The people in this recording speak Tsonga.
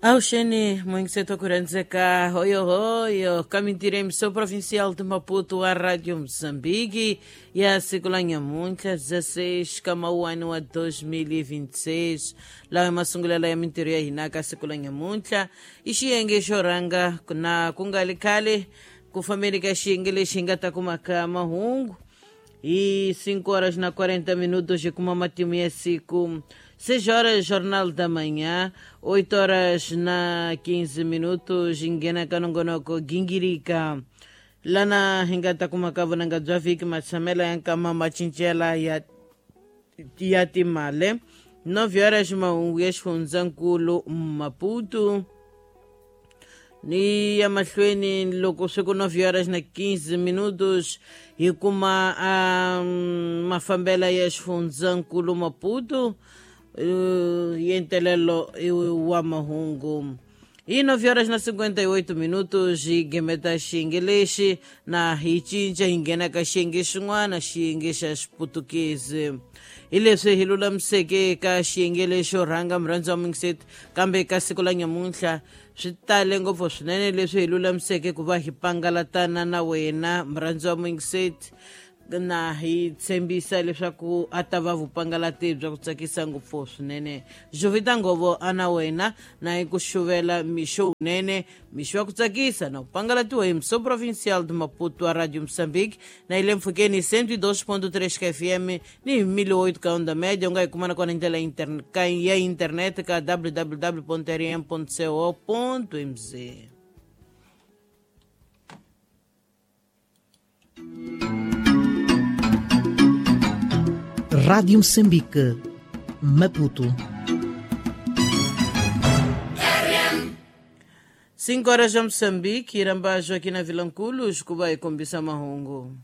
Auxene Moinseto Kuranzeka, hoyo hoyo, kamintirem emissão provincial de Maputo, a Rádio Moçambique, e a siku la nyamuntlha 16 ka mawuwani wa 2026 lawa masungulela ya mintirho ya hina ka siku la nyamuntlha i xiyenge xo rhanga na ku nga li khale ku fambeni ka xiyenge lexi hi nga ta kumaka mahungu hi 5 horas na 40 minutos hi kuma matimu ya siku. 6 horas, Jornal da Manhã, 8 horas na 15 minutos, hi nghena ka nongonoko Gingirika. Lana hi nga ta kumaka vunanga bya vhiki, matshamelo ya nkama, macincela ya timale. 9 horas, mahungu ya xifundzankulu Maputo ni ya mahlweni. Loko swi ku 9 horas na 15 minutos hi kuma mafambela ya xifundzankulu Maputo, yentelelo wa mahungu. Hi 9 horas na 58 minutos hi gemeta xiyenge lexi na hi cinca hi nghena ka xiyenge xin'wana, xiyenge xa Xiputukezi. Hi leswi hi lulamiseke ka xiyenge lexo rhanga, murhandzi wa mingiseti, kambe ka siku la nyamuntlha swi tale ngopfu swinene leswi hi lulamiseke ku va hi pangalatana na wena, murhandzi wa mingiseti, na hi tshembisa leswaku a ta va vupangalati bya ku tsakisa ngopfu swinene. Jovita Ngovo a na wena na hi ku xuvela mixo wunene, mixo wa ku tsakisa na ku pangalatiwa hi Mso Provincial de Maputo a Radio Moçambique, na hi le mpfhukeni 102.3 ka FM ni hi 1008 ka onda média. U nga hi kumana kona hi ndlela ya internet ka www rm co mz. Rádio Moçambique, Maputo. 5 horas já Moçambique, Irambajo aqui na Vilanculos, Cuba e kombisa mahungu.